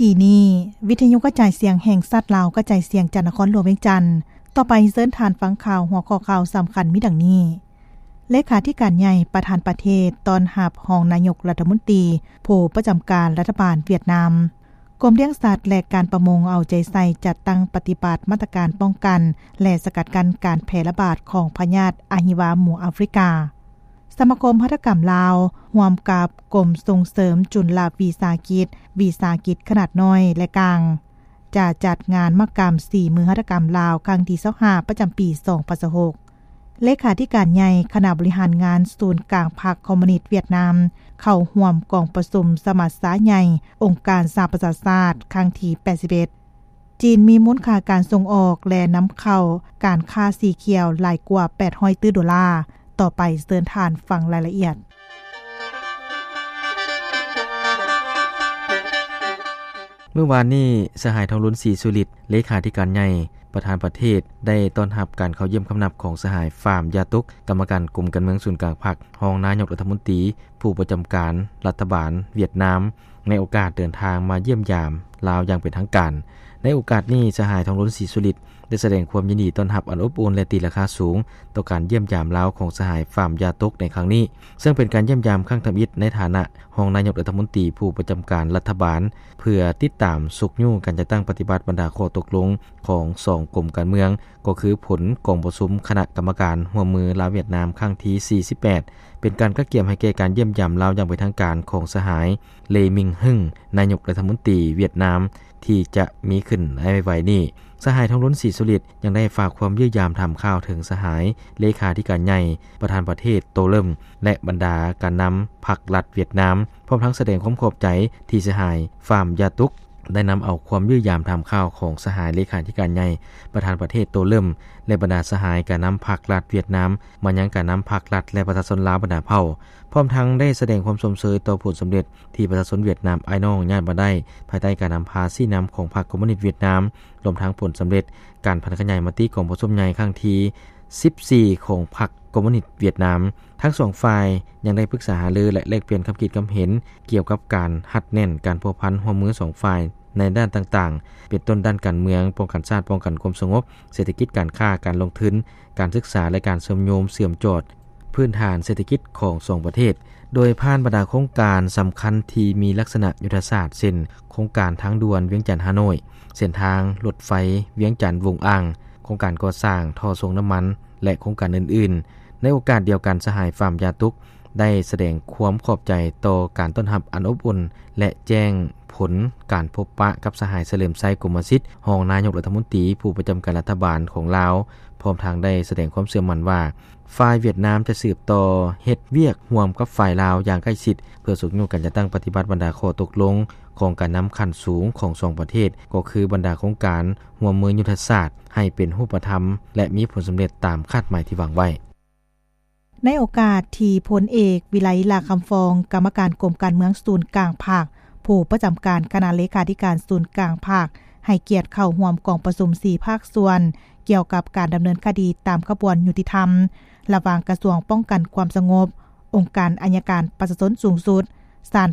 ກີ້ນີ້ ວິທະຍຸກະຈາຍສຽງແຫ່ງຊາດລາວ ກະຈາຍສຽງຈາກນະຄອນຫຼວງວຽງຈັນ. ຕໍ່ໄປເຊີນທ່ານຟັງຂ່າວ ຫົວຂໍ້ຂ່າວສຳຄັນມີດັ່ງນີ້: ເລຂາທິການໃຫຍ່ປະທານປະເທດຕ້ອນຮັບຮອງນາຍົກລັດຖະມົນຕີ ຜູ້ປະຈຳການລັດຖະບານຫວຽດນາມ. ກົມລ້ຽງສັດ ແລະ ການປະມົງເອົາໃຈໃສ່ຈັດຕັ້ງປະຕິບັດມາດຕະການປ້ອງກັນ ແລະ ສະກັດກັ້ນການແຜ່ລະບາດຂອງພະຍາດອະຫິວາໝູອາຟຣິກາ. ສະມາຄົມຫັດຖະກຳລາວ ຮ່ວມກັບກົມສົ່ງເສີມຈຸນລະວິສາຫະກິດ, ວິສາຫະກິດຂະໜາດນ້ອຍ ແລະ ກາງ ຈະຈັດງານມະຫະກຳສີມືຫັດຖະກຳລາວ ຄັ້ງທີຊາວຫ້າ ປະຈຳປີສອງພັນຊາວຫົກ. ເລຂາທິການໃຫຍ່ຄະນະບໍລິຫານງານສູນກາງພັກຄອມມູນິດຫວຽດນາມ ເຂົ້າຮ່ວມກອງປະຊຸມສະມັດຊາໃຫຍ່ອົງການສະຫະປະຊາຊາດ ຄັ້ງທີແປດສິບເອັດ. ຈີນມີມູນຄ່າການສົ່ງອອກ ແລະ ນຳເຂົ້າການຄ້າສີຂຽວຫຼາຍກວ່າແປດຮ້ອຍຕື້ໂດລາ. ຕໍ່ໄປເຊີນທ່ານຟັງລາຍລະອຽດ. ມື້ວານນີ້ ສະຫາຍ ທອງລຸນ ສີສຸລິດ ເລຂາທິການໃຫຍ່ ປະທານປະເທດ ໄດ້ຕ້ອນຮັບການເຂົ້າຢ້ຽມຄຳນັບຂອງສະຫາຍ ຟາມ ຢາຕຸກ ກຳມະການກົມການເມືອງສູນກາງພັກ, ຮອງນາຍົກລັດຖະມົນຕີ ຜູ້ປະຈຳການລັດຖະບານຫວຽດນາມ ໃນໂອກາດເດີນທາງມາຢ້ຽມຢາມລາວຢ່າງເປັນທາງການ. ໃນໂອກາດນີ້ ສະຫາຍ ທອງລຸນ ສີສຸລິດ ໄດ້ສະແດງຄວາມຍິນດີຕ້ອນຮັບອັນອົບອຸ່ນ ແລະ ຕີລາຄາສູງຕໍ່ການຢ້ຽມຢາມລາວຂອງສະຫາຍ ຟາມ ຢາຕຸກ ໃນຄັ້ງນີ້, ເຊິ່ງເປັນການຢ້ຽມຢາມຄັ້ງທຳອິດໃນຖານະຮອງນາຍົກລັດຖະມົນຕີຜູ້ປະຈຳການລັດຖະບານ ເພື່ອຕິດຕາມຊຸກຍູ້ການຈັດຕັ້ງປະຕິບັດບັນດາຂໍ້ຕົກລົງຂອງສອງກົມການເມືອງ, ກໍຄືຜົນກອງປະຊຸມຄະນະກຳມະການຮ່ວມມືລາວຫວຽດນາມຄັ້ງທີສີ່ສິບແປດ ເປັນການກະກຽມໃຫ້ແກ່ການຢ້ຽມຢາມລາວຢ່າງເປັນທາງການຂອງສະຫາຍ ເລ ມິງ ຮຶງ ນາຍົກລັດຖະມົນຕີຫວຽດນາມ ທີ່ຈະມີຂຶ້ນໃນໄວໆນີ້. ສະຫາຍ ທອງລຸນ ສີສຸລິດ ຍັງໄດ້ຝາກຄວາມຢ້ຽມຢາມຖາມຂ່າວເຖິງສະຫາຍເລຂາທິການໃຫຍ່ ປະທານປະເທດ ໂຕເລິມ ແລະ ບັນດາການນຳພັກລັດຫວຽດນາມ, ພ້ອມທັງສະແດງຄວາມຂອບໃຈທີ່ສະຫາຍ ຟາມ ຢາຕຸກ ໄດ້ນຳເອົາຄວາມຢ້ຽມຢາມຖາມຂ່າວຂອງສະຫາຍເລຂາທິການໃຫຍ່ ປະທານປະເທດ ໂຕເລິມ ແລະ ບັນດາສະຫາຍການນຳພັກລັດຫວຽດນາມ ມາຍັງການນຳພັກລັດ ແລະ ປະຊາຊົນລາວບັນດາເຜົ່າ, ພ້ອມທັງໄດ້ສະແດງຄວາມຊົມເຊີຍຕໍ່ຜົນສຳເລັດ ທີ່ປະຊາຊົນຫວຽດນາມອ້າຍນ້ອງຍາດມາໄດ້ ພາຍໃຕ້ການນຳພາຊີ້ນຳຂອງພັກຄອມມູນິດຫວຽດນາມ, ລວມທັງຜົນສຳເລັດການຜັນຂະຫຍາຍມະຕິກອງປະຊຸມໃຫຍ່ຄັ້ງທີສິບສີ່ຂອງພັກຄອມມູນິດຫວຽດນາມ. ທັງສອງຝ່າຍຍັງໄດ້ປຶກສາຫາລື ແລະ ແລກປ່ຽນຄຳຄິດຄຳເຫັນກ່ຽວກັບການຮັດແໜ້ນການພົວພັນຮ່ວມມືສອງຝ່າຍໃນດ້ານຕ່າງໆ ເປັນຕົ້ນດ້ານການເມືອງ, ປ້ອງກັນຊາດ, ປ້ອງກັນຄວາມສະຫງົບ, ເສດຖະກິດ, ການຄ້າ, ການລົງທຶນ, ການສຶກສາ ແລະ ການເຊື່ອມໂຍງເຊື່ອມຈອດພື້ນຖານເສດຖະກິດຂອງສອງປະເທດ. ໂດຍຜ່ານບັນດາໂຄງການສຳຄັນທີ່ມີລັກສະນະຍຸດທະສາດ ເຊັ່ນ ໂຄງການທາງດ່ວນວຽງຈັນ-ຮ່າໂນ້ຍ, ເສັ້ນທາງລົດໄຟວຽງຈັນ-ວົງອ່າງ, ໂຄງການກໍ່ສ້າງທໍ່ສົ່ງນ້ຳມັນ ແລະ ໂຄງການອື່ນໆ. ໃນໂອກາດດຽວກັນ, ສະຫາຍ ຟາມ ຢາຕຸກ ໄດ້ສະແດງຄວາມຂອບໃຈຕໍ່ການຕ້ອນຮັບອັນອົບອຸ່ນ ແລະ ແຈ້ງຜົນການພົບປະກັບສະຫາຍ ສະເຫຼີມໄຊ ກົມມະສິດ ຮອງນາຍົກລັດຖະມົນຕີຜູ້ປະຈຳການລັດຖະບານຂອງລາວ, ພ້ອມທັງໄດ້ສະແດງຄວາມເຊື່ອໝັ້ນວ່າ ຝ່າຍຫວຽດນາມຈະສືບຕໍ່ເຮັດວຽກຮ່ວມກັບຝ່າຍລາວຢ່າງໃກ້ຊິດ ເພື່ອຊຸກຍູ້ການຈັດຕັ້ງປະຕິບັດບັນດາຂໍ້ຕົກລົງຂອງການນຳຂັ້ນສູງຂອງສອງປະເທດ, ກໍຄືບັນດາໂຄງການຮ່ວມມືຍຸດທະສາດ ໃຫ້ເປັນຮູບປະທຳ ແລະ ມີຜົນສຳເລັດຕາມຄາດໝາຍທີ່ວາງໄວ້. ໃນໂອກາດທີ່ພົນເອກ ວິໄລ ຫຼ້າຄຳຟອງ ກຳມະການກົມການເມືອງສູນກາງພັກ, ຜູ້ປະຈຳການຄະນະເລຂາທິການສູນກາງພັກ ໃຫ້ກຽດເຂົ້າຮ່ວມກອງປະຊຸມສີ່ພາກສ່ວນ ກ່ຽວກັບການດຳເນີນຄະດີຕາມຂະບວນຍຸຕິທຳ ລະຫວ່າງກະຊວງປ້ອງກັນຄວາມສະຫງົບ, ອົງການໄອຍະການປະຊາຊົນສູງສຸດ, ສານ